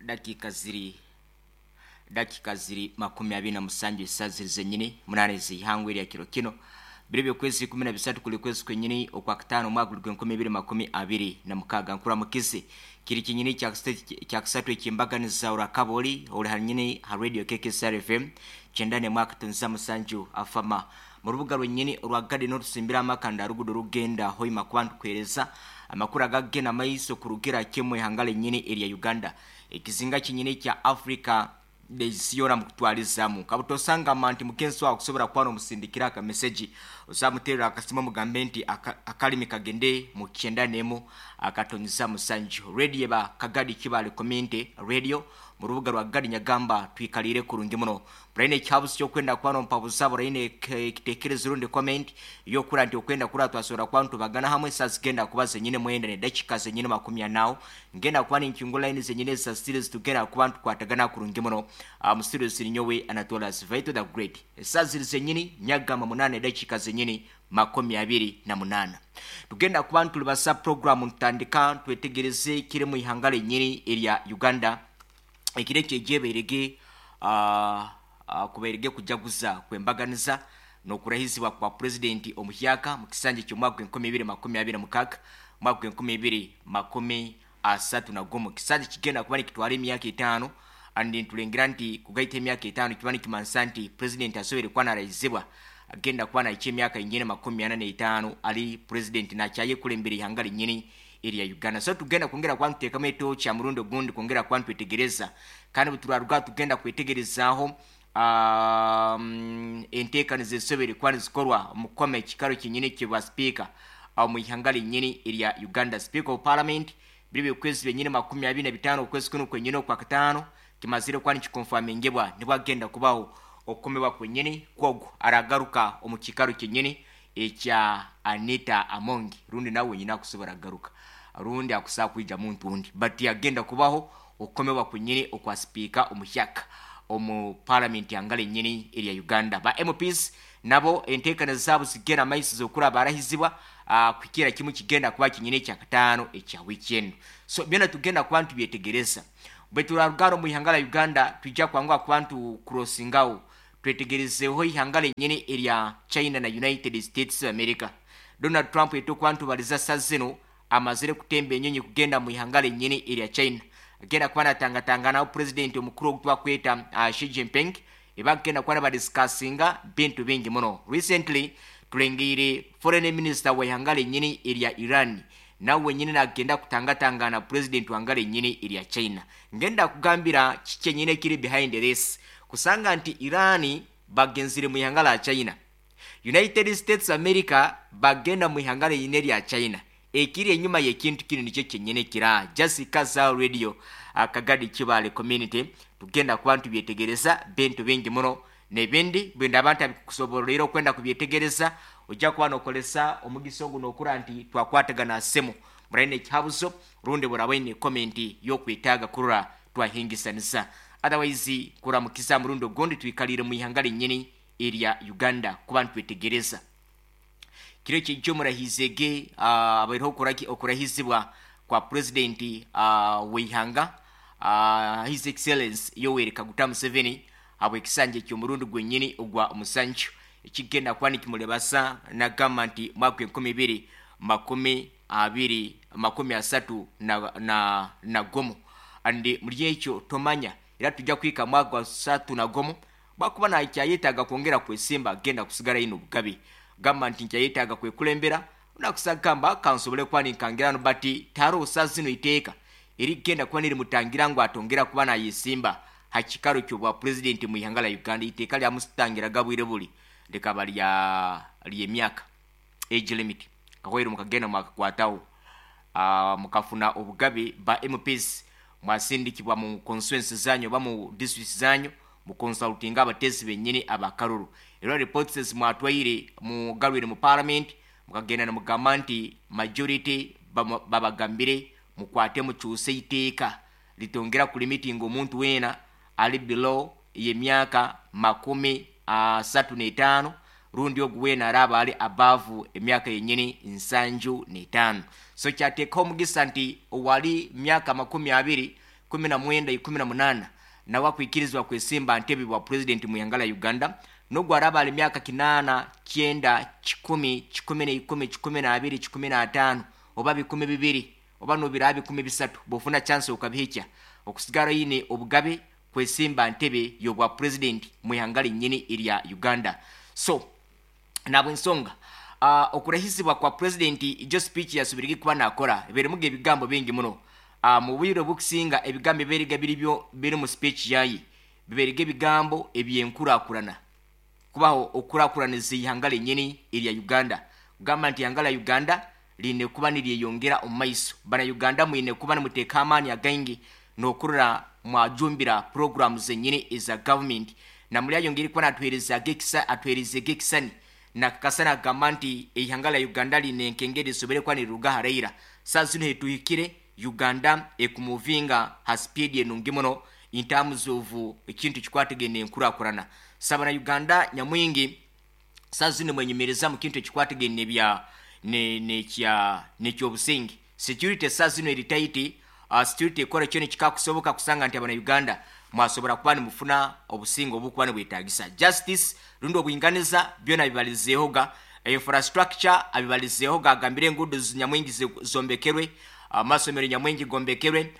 Dakiika ziri dakiika ziri 27 esaaha ziri zenyini 8 z'eihangwe erya kiro kino biro by'okwezi 13 kuri kwezi kwenyini okwa kataano omwaka guri gw'enkumi ibiri 26. Nkuramukize kiri kinyini kyakisatu ekyembaganiza orakaba ori ori hanyini ha radio KKSR FM 91.7 afama mu rubuga rwenyini orwa Garden orusimbira amakanda rugudo rugenda Hoima kuba ntukuhereza amakuru agagenda maiso kurugira kimwe ihanga lenyini erya Uganda, ekizinga kinyini kya Africa nesiyora mukutwarizamu. Kabutosanga nti mugenzi wawe akusobora kuba nomusindikira akameseji, osamuterera akasimu omugambe nti akalimi kagende mu 91.7 radio ba Kagadi Kibale Community Radio mu rubuga rwa Gadi Nyagamba. Twikalire kurungi muno buraine ekihabuzi kyokwenda kuba nompabuza buraine ekitekerezo rundi comment yokura nti okwenda kura twasobora kuba ntubagana hamwe. Saa zigenda kuba zenyine 9 ne dakika zenyine 40, ngenda kuba ninkingula line zenyine za series, tugenda kuba ntukwatagana kurungi muno. Mu studio sirinyowe Anatolas Vaito the Great. Saa ziri zenyini Nyagamba 8 dakika zenyini 28, tugenda kuba ntulibasa program ntandika twetegereze kiri mu ihanga lenyini erya Uganda. Ekiro ekyo egyebairege kubairege kujaguza kwembaganiza n'okurahizibwa kwa purezidenti omuhyaka mu kisanja ky'omwaka gw'enkumi ibiri 26, mwaka gw'enkumi ibiri 31. Kisanja kigenda kuba nikitwara emyaka 5, and ntulengera nti kugaita emyaka 5 kiba nikimanisa nti purezidenti asobere kuba narahizibwa agenda kuba nahikya emyaka yinyine 45 ali purezidenti nakyayekulembera ihanga linyini erya Uganda. So tugenda kwongera kuba ntuteekamu etoki ha murundi ogundi kwongera kuba ntwetegereza, kandi buturaruga tugenda kwetegerezaaho enteekaniza ezisobere kuba nizikorwa omu kukoma ekikaro kyenyini kyebwa sipiika omu ihanga linyini erya Uganda, Speaker of Parliament. Biri byokwezi byenyini 25 okwezi kuno kwenyini okwa kataano kimazire kuba nikikonfamingebwa nibwagenda kubaho okukomebwa kwenyini kwogwo aragaruka omu kikaro kyenyini ekya Anita Amongi, rundi nawe wenyini akusobora agaruka rundi akusaa kwija muntu undi, but yagenda kubaho okukomebwa kwenyini okwa sipiika omuhyaka omu parliament yanga lenyini erya Uganda. Ba MPs nabo enteekaniza zaabo zigenda maiso zokura barahizibwa kuhikira kimu kigenda kuba kinyini ekyakataano ekya wiiki enu. So byona tugenda kuba ntubyetegereza. Bwe turarugara omu ihanga la Uganda, twijja kwanguha kuba ntukurosingaho twetegerezeho ihanga lenyini erya China na United States of America. Donald Trump etokuba ntubaliza sa zino amazire kutemba enyonyi kugenda mu ihanga lenyini erya China, agenda kuba natangatanganaho purezidenti omukuru ogu twakweta Xi Jinping, ebagenda kuba nabadisikasinga bintu bingi muno. Recently tulengeire foreign minister wa ihanga lenyini erya Iran nawe wenyini nagenda kutangatangana purezidenti wanga lenyini erya China. Ngenda kugambira kikyenyini ekiri behind this, kusanga nti Iran bagenzire mu ihanga la China, United States America bagenda mu ihanga lenyini erya China. Ekiri enyuma y'ekintu kino nikyo kyenyini kira Jessica za radio Akagadi Kibale Community. Tugenda kuba ntubyetegereza bintu bingi muno n'ebindi bwenda abantu abikusoborera okwenda kubyetegereza. Ojja kuba nokolesa omugisa ogu nokura nti twakwatagana semu muraine ekihabuzo rundi burabaine comment y'okwetaaga kurora twahingisanisa. Otherwise kuramukiza murundi ogundi, twikalire mu ihanga lenyini erya Uganda kuba ntwetegereza kiro ekyo omurahizege abaireho okurahizibwa kwa purezidenti w'eihanga, His Excellence Yoweri Kaguta Museveni, habw'ekisanja eky'omurundi gwenyini ogwa 7 ekigenda kuba nikimurebasa nagamba nti mwaka 2020 31. And muri ekyo tomanya era tujja kuhika mwaka gwa 31 bwakuba nakyayetaaga kwongera kwesimba, agenda kusigara ino obugabe gamba nti nkyayetaaga kwekulembera nakusagamba kansobole kuba ninkangirano, but taroosa zino iteeka erigenda kuba nirimutangira ngu atongera kuba nayesimba ha kikaro kyobwa purezidenti mu ihanga la Uganda. Iteeka lyamusitangiraga bwire buli likaba lya lyemyaka, age limit. Kahwaire mukagenda mwakakwataho mukafuna obugabe, ba MPs mwasindikibwa mu constituency zanyu oba mu districts zanyu mukonsultinga abatezi benyini abakaruru, era reports ezimwatwaire mugarwire mu parliament, mukagenda nimugamba nti majority babagambire mukwate mukyuse iteeka litongera kulimitinga omuntu weena ali below y'emyaka 35, rundi ogu weena araba ali above emyaka yenyini 75. So kyateekaho omugisa nti owali myaka 20. 19, 18 nawe akwikirizibwa kwesimba ntebe bwa purezidenti mu ihanga lya Uganda n'ogu araba ali myaka 8, 9, 10, 11, 12, 15 oba 20 oba nobiraba 30 bwofuna chance okabihikya okusigara oyine obugabe kwesimba ntebe y'obwa purezidenti mu ihanga linyini erya Uganda. So nabwensonga okurahizibwa kwa purezidenti ijo speech yasubirige kuba nakora eberimuga ebigambo bingi muno. Mu bwire obukusinga ebigambo eberiga biribyo biri mu speech yaye biberiga ebigambo ebyenkurakurana kubaho okurakuraniza ihanga linyini erya Uganda, kugamba nti ihanga lya Uganda line kuba niryeyongera omu maiso. Bana Uganda mwine kuba nimuteeka amaani againgi n'okurora mwajumbira programu zenyini eza government. Na muri ayongere kuba natuhereza gekisa atuhereze gekisani nakakasa nagamba nti ihanga lya Uganda line enkengeri lisobere kuba niriruga haraira. Saa zino hetuhikire Uganda ekumuvinga ha speed enungi muno in terms of ekintu kikwatagene enkurakurana. Saba na Uganda nyamwingi saa zino mwenyumireza mu kintu ekikwatagene bya ne nekya nekyobusingi security saa zino eri tight. Security ekora kyo nikikakusoboka kusanga nti abana Uganda mwasobora kuba nimufuna obusinge obukuba nibwetagisa justice rundi obwinganiza byona bibalizeehoga infrastructure abibalizeehoga agambire enguudo nyamwingi zombekerwe, amasomero nyamwingi gombekerwe,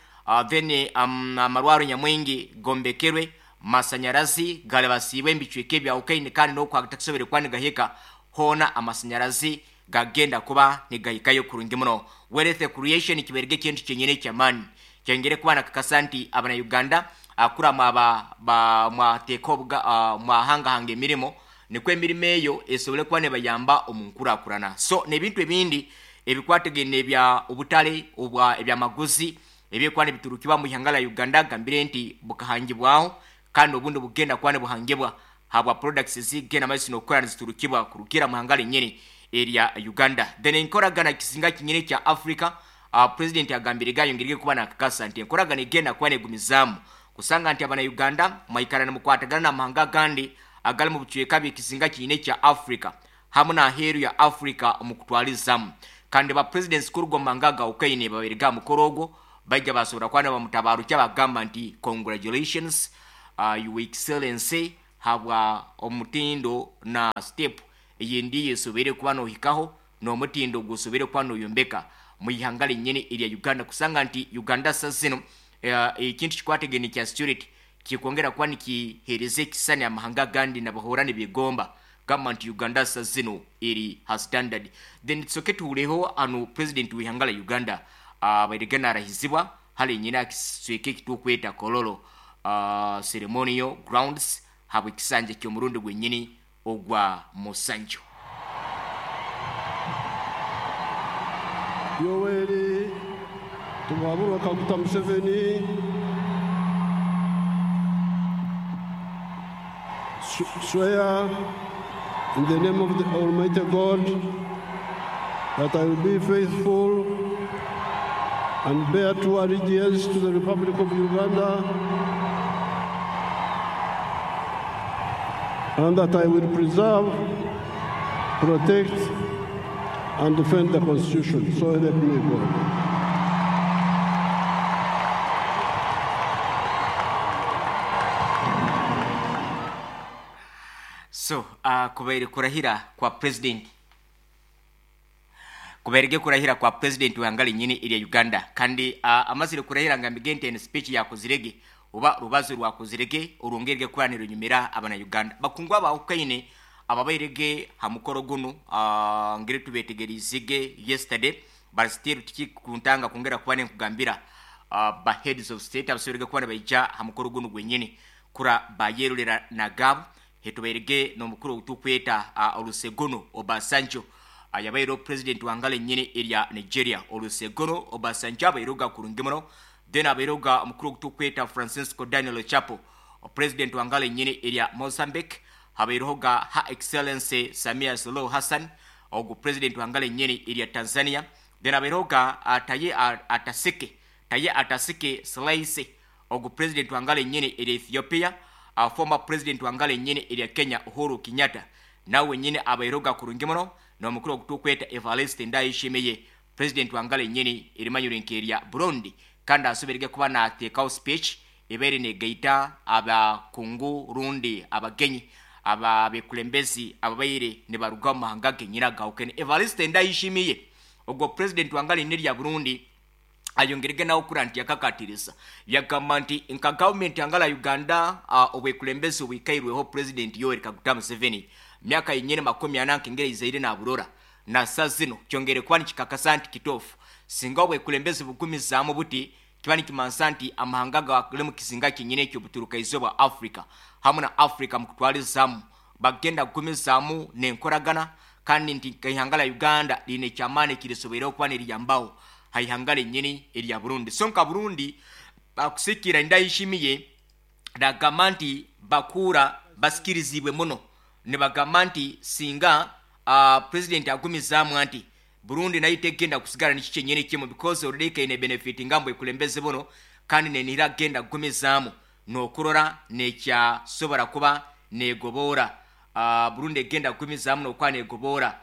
then amarwaro nyamwingi gombekerwe, masanyarazi galabasiibwe embicweka ebyawukaine kandi n'okwatakusobere kuba nigahika hoona amasanyarazi gagenda kuba nigahikayo kurungi muno. Wealth creation kiberege ekintu kyenyine ekyamaani kyongere kuba nakakasa nti abana Uganda akura mwaba ba mwateeka obuga mwahangahanga emirimo nikwo emirimo eyo esobole kuba nebayamba omu nkurakurana. So n'ebintu ebindi ebikwatagene ebya obutale obwa ebyamaguzi ebyekuba nibiturukibwa mu ihanga lya Uganda gambire nti bukahangibwaho kandi obundi bugenda kuba nibuhangibwa habwa products zigenda maiso n'okukora niziturukibwa kurukira mu ihanga linyini erya Uganda. Then enkoragana kisinga kinyini kya Africa, president agambire gayongerege kuba nakakasa nti enkoragana egenda kuba negumizaamu kusanga nti abana Uganda mwaikara nimukwatagana n'amahanga agandi agali mu bucweka by'ekizinga kinyini kya Africa hamwe n'aheeru ya Africa omu kutwarizamu. Kandi ba presidents kuruga omu mahanga agawukaine babaire mukoro ogwo baija basobora kuba nibamutabarukya bagamba nti congratulations, your excellency habwa omutindo na step eyindi yesobere kuba nohikaho n'omutindo gusobere kuba noyombeka mu ihanga linyini erya Uganda kusanga nti Uganda sa zino ekintu kikwatagene kya security kikwongera kuba nikihereza ekisani amahanga agandi nabahora nibigomba gamba nti Uganda sa zino eri ha standard. Then tusoke tuhureho ano president w'ihanga lya Uganda abaire narahizibwa hali nyina akisweke ekitukweta Kololo ceremonial grounds habwe ekisanja ky'omurundi gwenyini ogwa Musanju. Yoweri Tibuhaburwa Kaguta Museveni swear in the name of the Almighty God that I will be faithful and bear true allegiance to the Republic of Uganda and that I will preserve, protect, and defend the Constitution. So help me God. So, kubaire kurahira kwa president kubairege kurahira kwa president w'ihanga linyini erya Uganda kandi amazire kurahira ngambige nti eno speech yakozirege oba rubazo rwakozirege orwongerege kuba nirunyumira abana Uganda bakungwa abawukaine ababairege ha mukoro guno ngere tubetegerizige yesterday but still tikikuntanga kwongera kuba nenkugambira ba heads of state abasobere kuba nibaija ha mukoro guno gwenyini kura bayerurera nagabo hetubairege n'omukuru otukweta Olusegun Obasanjo yabaire president wangale nyini erya Nigeria. Olusegun Obasanjo abairoga kurungi muno. Then abairoga omukuru otukweta Francisco Daniel Chapo president wangale nyini erya Mozambique. Habairoga ha Excellency Samia Suluhu Hassan ogu president wangale nyini erya Tanzania. Then abairoga Taye Atasike Slice ogu president wangale nyini erya Ethiopia. Former president wangale nyini erya Kenya Uhuru Kenyatta nawe nyini abairoga kurungi muno n'omukuru ogutukweta Evariste Ndayishimiye president wangale nyini erimanyire nkerya Burundi. Kandi asoberege kuba nateekaho speech ebaire negaita abakungu rundi abagenyi ababekulembezi ababaire nibaruga omu mahanga genyini agahukene. Evariste Ndayishimiye ogwo purezidenti wanga riine erya Burundi ayongerege nawe kura nti yakakatiriza yagamba nti nka gavumenti yanga la Uganda obwekulembezi obwikairweho purezidenti Yoweri Kaguta Museveni myaka yenyini 40 nkengeri eizaire naburora na sa zino kyongere kuba nikikakasa nti kituufu singa obwekulembezi bugumizaamu buti kiba nikimansa nti amahanga gari mu kizinga kyenyini eky'obuturuka-izooba Africa hamwe na Africa mu kutwarizamu bagenda kugumizaamu n'enkoragana kandi nti nk'eihanga rya Uganda riine eky'amaani ekirisoboireho kuba niriyambaho aha ihanga ryenyini erya Burundi. So nka Burundi bakusikira Ndayishimiye nagamba nti bakuura basikiriziibwe muno nibagamba nti singa purezidenti agumizaamu anti Burundi nayo tegenda kusigara nikyo kyenyini kimwe because already ekaine benefitinga omu bwekulembezi buno kandi nenihira kugenda kugumizaamu n'okurora nekyasobora kuba negoboora Burundi egenda kugumizaamu n'okuba negoboora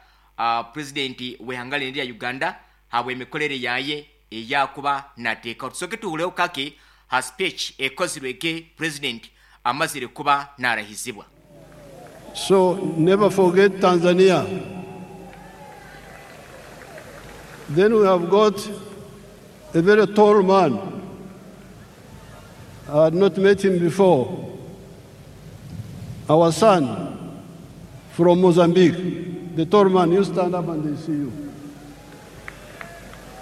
purezidenti w'eihanga rinu erya Uganda habw'emikorere yaye eyakuba nateekaho. Tusooke tuhureho kake ha speech ekozirwe purezidenti amazire kuba narahizibwa. So never forget Tanzania. Then we have got a very tall man. I had not met him before. Our son from Mozambique. The tall man, you stand up and they see you.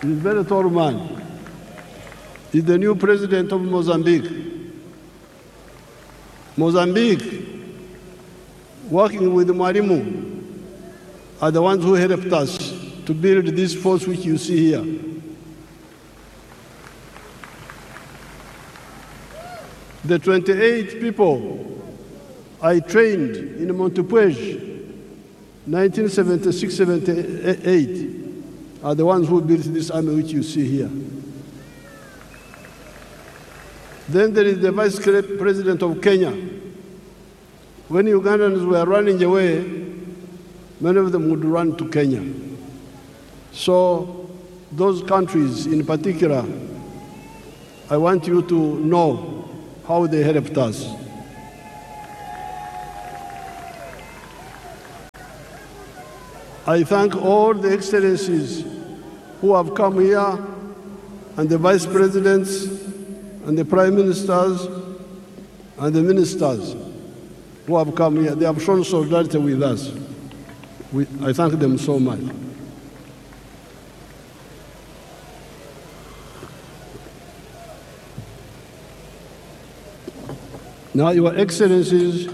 He's a very tall man. He's the new president of Mozambique. Mozambique, working with Mwalimu, are the ones who helped us to build this force which you see here. The 28 people I trained in Montepuez, 1976-78, are the ones who built this army which you see here. Then there is the Vice President of Kenya. When Ugandans were running away, many of them would run to Kenya. So those countries in particular, I want you to know how they helped us. I thank all the excellencies who have come here, and the vice presidents, and the prime ministers, and the ministers who have come here. They have shown solidarity with us. I thank them so much. Now, Your Excellencies,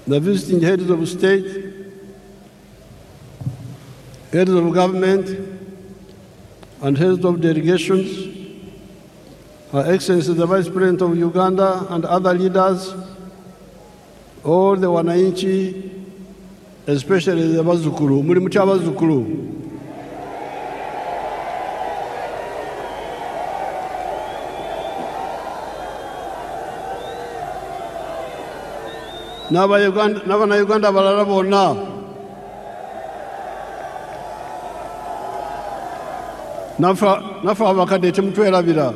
the visiting heads of state, heads of government, and heads of delegations, Her Excellency the Vice President of Uganda and other leaders, all the wananchi, especially the Bazukuru, muri mucha Bazukuru. N'abana Uganda balala bonna. Nafe abakadde temutwerabira.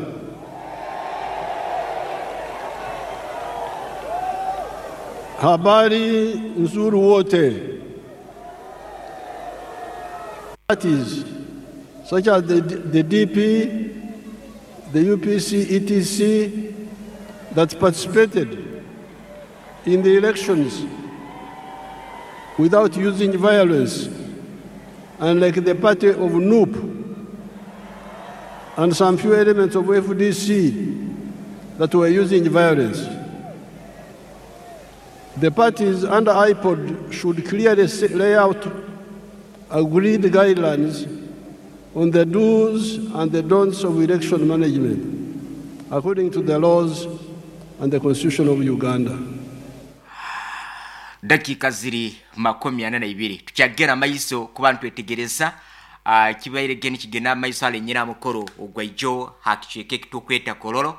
Habari nzuri wote. Parties such as the DP, the UPC, etc. that participated in the elections without using violence, and like the party of NUP and some few elements of FDC that were using violence. The parties under IPOD should clearly lay out agreed guidelines on the do's and the don'ts of election management according to the laws and the Constitution of Uganda. Dakiika ziri 42 tukyagera amaiso kuba nitwetegereza kibaire ge nikigenda amaiso hare nyina mukoro ogwaijo hakicweka ekitukweta Kololo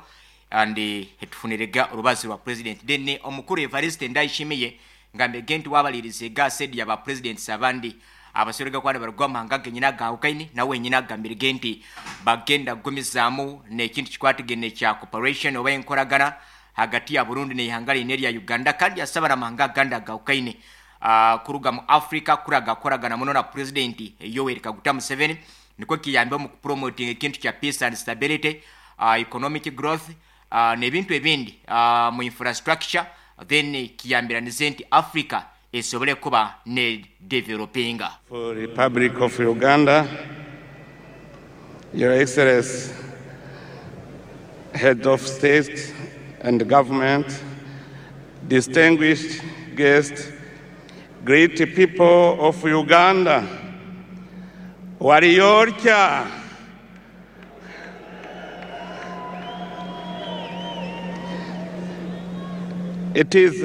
and etufunirega orubazi rwa president then omukuru Evariste Ndayishimiye ngambe nti wabalirize ga said ya ba presidents abandi Abasorega kuba nibaruga omu mahanga genyini agahukaine nawe wenyini agambirege nti bagenda kugumizaamu n'ekintu kikwatagaine kya cooperation oba enkoragana hagati ya Burundi n'eihanga ryine erya Uganda kandi yasaba n'amahanga agandi agahukaine kuruga mu Africa kuraga kukoragana muno na Purezidenti Yoweri Kaguta Museveni nikwo kiyambe omu kupromotinga ekintu kya peace and stability, economic growth n'ebintu ebindi mu infrastructure then kiyambiranize nti Africa esobole kuba ne developinga. For Republic of Uganda, Your Excellency, Head of State and Government, distinguished guests, great people of Uganda, Wariyorcha. It is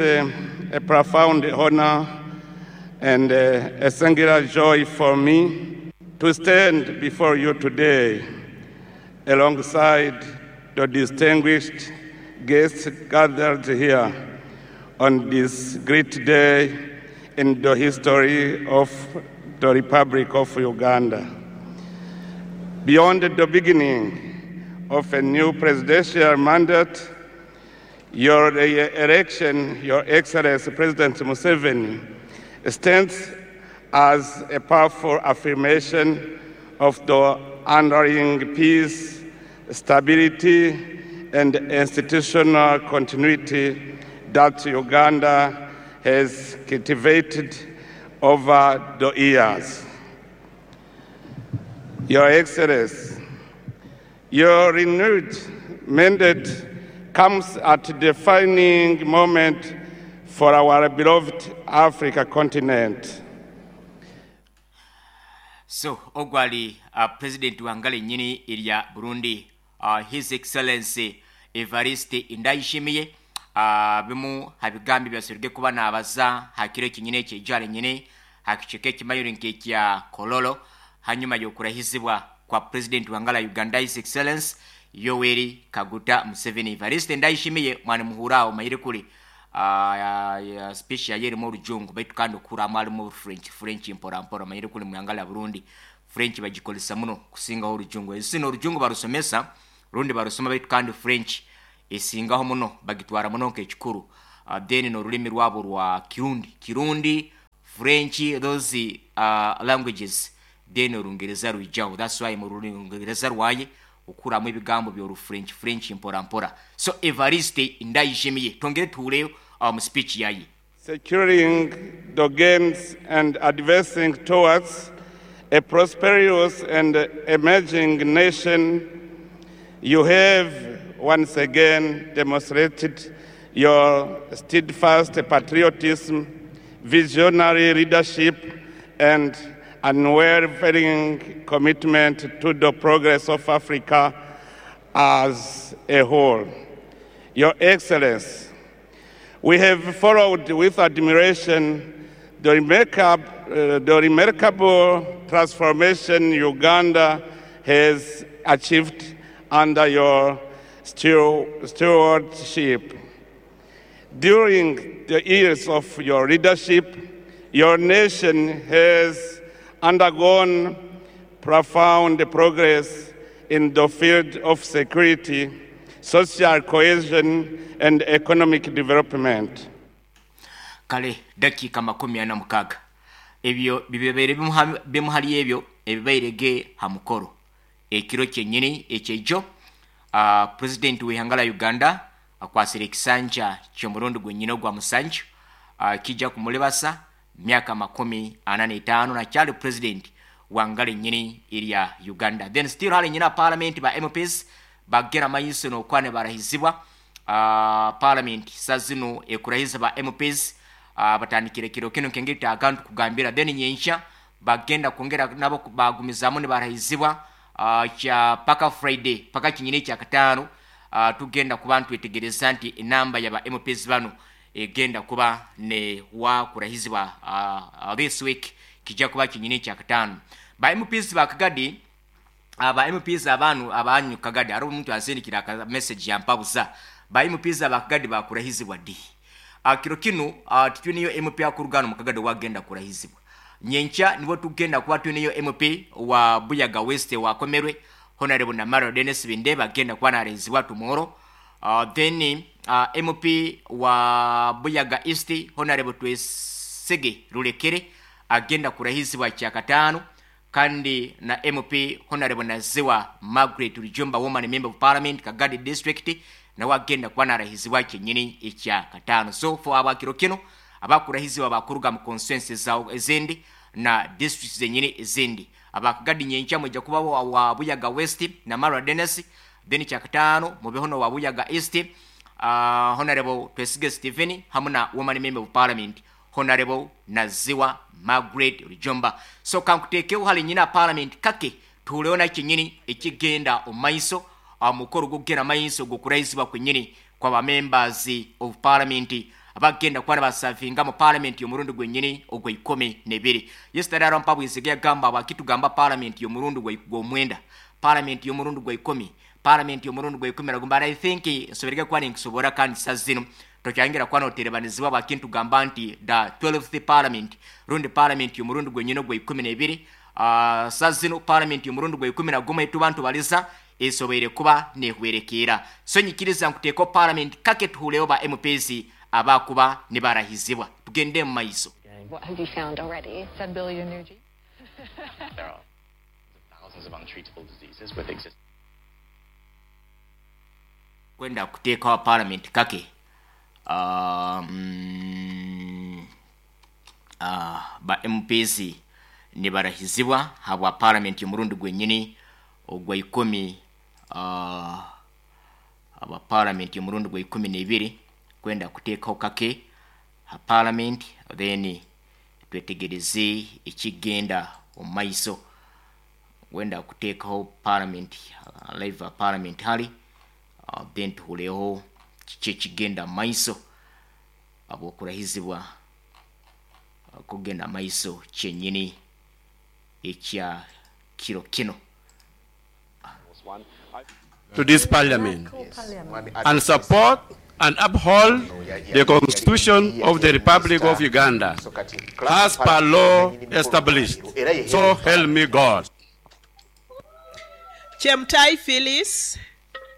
a profound honor and a singular joy for me to stand before you today alongside the distinguished guests gathered here on this great day in the history of the Republic of Uganda. Beyond the beginning of a new presidential mandate, your election, Your Excellency President Museveni, stands as a powerful affirmation of the underlying peace, stability, and institutional continuity that Uganda has cultivated over the years. Your Excellency, your renewed mandate comes at a defining moment for our beloved Africa continent. So ogwali President wangale nyini erya Burundi, His Excellency Evariste Ndayishimiye, bimu habigambi byaserge kuba nabaza hakiro kinyine kyejale nyine hakicheke kimayuri nkekya Kololo hanyuma yokurahizibwa kwa President wangala Uganda His Excellence Yoweri Kaguta Museveni. Evariste Ndayishimiye mwana muhurao mayire kuri speech yayeri mu rujungu baitu kandi okura mwali mu French mpora mpora mayire kuri muyangala Burundi French bagikolesa muno kusingaho orujungu. Esino orujungu barusomesa rundi barusoma baitu kandi French esingaho muno bagitwara muno nk'ekikuru. Then n'orulimi rwabo rwa Kirundi, French, those languages, then orungereza rwijaho. That's why mu rungereza rwaye okuramu ebigambo by'oru French mpora mpora. So Evariste Ndayishimiye tongere tuhureyo mu speech yaye. Securing the gains and advancing towards a prosperous and emerging nation, you have once again demonstrated your steadfast patriotism, visionary leadership, and unwavering commitment to the progress of Africa as a whole. Your Excellency, we have followed with admiration the remarkable transformation Uganda has achieved under your stewardship. During the years of your leadership, your nation has undergone profound progress in the field of security, social cohesion, and economic development. Kale dakika 46 ebyo bibebere bimuhali ebyo ebibairege ha mukoro ekiro kyenyini ekyejo. President w'ihanga Uganda akwasire ekisanja ky'omurundi gwenyini ogwa musanju, kijja kumulebasa myaka 45 na kyali president wangale nyini erya Uganda. Then still hali nyina parliament ba MPs bagera mayiso n'okwane barahizibwa. Parliament sazino ekurahiza ba MPs, batandikire kiro kino kengeri agantu kugambira. Then nyenkya bagenda kwongera nabo bagumizamu ne barahizibwa, kya paka Friday paka kinyini kya katano. Tugenda kuba ntwetegereza nti enamba ya ba MPs bano egenda kuba ne wa kurahizibwa this week kijja kuba kinyini kya katano. Ba MPs ba Kagadi, aba MPs abanu abanyu Kagadi ari omuntu asindikira ka message yampabuza. Ba MPs aba Kagadi bakurahizibwa di kiro kino tituniyo MP akurugano mu Kagadi wagenda kurahizibwa. Nyenkya nibwo tugenda kuba twineyo MP wa Buyaga West wakomerwe Honorable Namaro Dennis Bindeba agenda kuba narahizibwa tomorrow. Then MP wa Buyaga East Honorable Twesige Rulekere agenda kurahizibwa kyakataano, kandi na MP Honorable Naziwa Margaret Rujumba, Woman Member of Parliament, Kagadi District, nawe agenda kuba narahizibwa kyenyini ekyakataano. So for abakiro kino abakurahizibwa bakuruga mu constituencies zawo ezindi na districts zenyini ezindi. Abakagadi nyenkya mwija kuba wa Buyaga West na Marwa Dennis, then kyakataano mubeho no wa Buyaga East, Honorable Twesige Stephen hamu na Woman Member of Parliament Honorable Naziwa Margaret Rujumba. So kankuteekeho hali nyina parliament kake tuhuleho na kyenyini ekigenda omu maiso, omukoro gukugenda maiso gukurahisibwa kwenyini kwa members of parliament abagenda kuba basavinga mu parliament y'omurundi gwenyini ogwa 12. Yesterday arampa bwisige yagamba abakitugamba parliament y'omurundi gwa 9, parliament y'omurundi gwa 10, parliament y'omurundi gwa 10 nagumba. I think nsoberege kuba ninkusobora kandi sazino tokyangira kuba noterebanizibwa bakintugamba nti the 12th parliament rundi parliament y'omurundi gwenyini ogwa 12. Sazino parliament y'omurundi gwa 11 etubantu baliza esobeire kuba nehwerekera. So nyikiriza nkuteeko parliament kake tuhuleyo ba MPs abakuba ne barahizibwa. Tugende mu maiso. What have you found already? 10 billion new genes. There are thousands of untreatable diseases with existing. Kwenda kuteekawo parliament kake. Ba MPs ne barahizibwa habwa parliament y'omurundi gwenyini ogwa 10, aba parliament y'omurundi gwa 12 kwenda kuteekawo kake ha parliament, then twetegereze ekigenda omu maiso. Kwenda kuteekawo parliament, live parliament hali, then tuhuleho kiki ekigenda mu maiso abwokurahizibwa kugenda maiso kyenyini ekya kiro kino. To this parliament and support and uphold the Constitution of the Republic of Uganda as per law established. So help me God. Chemtai Phyllis.